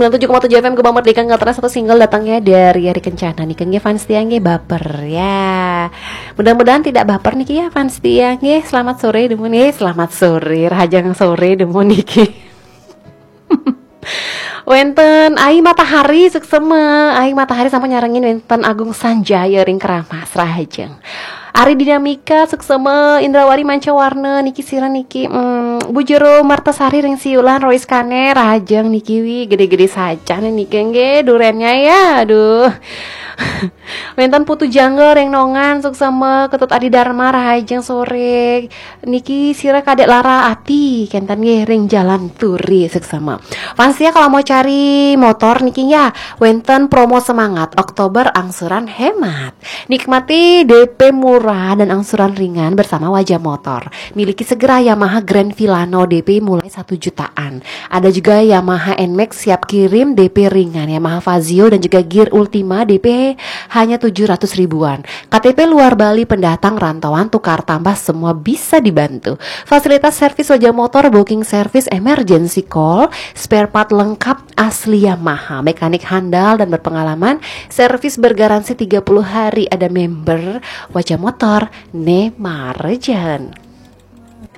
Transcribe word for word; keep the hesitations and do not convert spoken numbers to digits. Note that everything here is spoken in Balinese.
Sembilan tujuh koma tujuh F M Gema Merdeka, nggak terasa satu single datangnya dari Ari Kencana nih, nggih, fans setia nggih, Baper ya. Mudah-mudahan tidak baper nih ya fans setia nggih. Selamat sore demun nggih, selamat sore, rahajeng sore demun niki. Wénten Ai Matahari suksema, Ai Matahari sampun nyarengin wénten Agung Sanjaya ring Keramas, rahajeng. Ari Dinamika suksema, Indrawari Mancawarna niki sira niki, mm, Bu Jero Martasari ring Siulan, Rois Kane, rahajeng niki wi, gede-gede sajan niki nggih durennya ya, aduh. Wénten Putu Jangga ring Nongan suksema, Ketut Adi Dharma, rahajeng sore. Niki sira Kadek Lara Ati, kenten nggih ring Jalan Turi suksema. Fans setia kalau mau cari motor niki ya, wénten promo semangat Oktober angsuran hemat. Nikmati D P murah dan angsuran ringan bersama Wajah Motor. Miliki segera Yamaha Grand Filano, D P mulai satu jutaan. Ada juga Yamaha Nmax siap kirim, D P ringan, Yamaha Fazzio dan juga Gear Ultima, D P hanya tujuh ratus ribuan. K T P luar Bali, pendatang, rantauan, tukar tambah, semua bisa dibantu. Fasilitas servis Wajah Motor, booking service, emergency call, spare part lengkap asli Yamaha, mekanik handal dan berpengalaman, servis bergaransi tiga puluh hari, ada member Wajah Motor, ne marjan.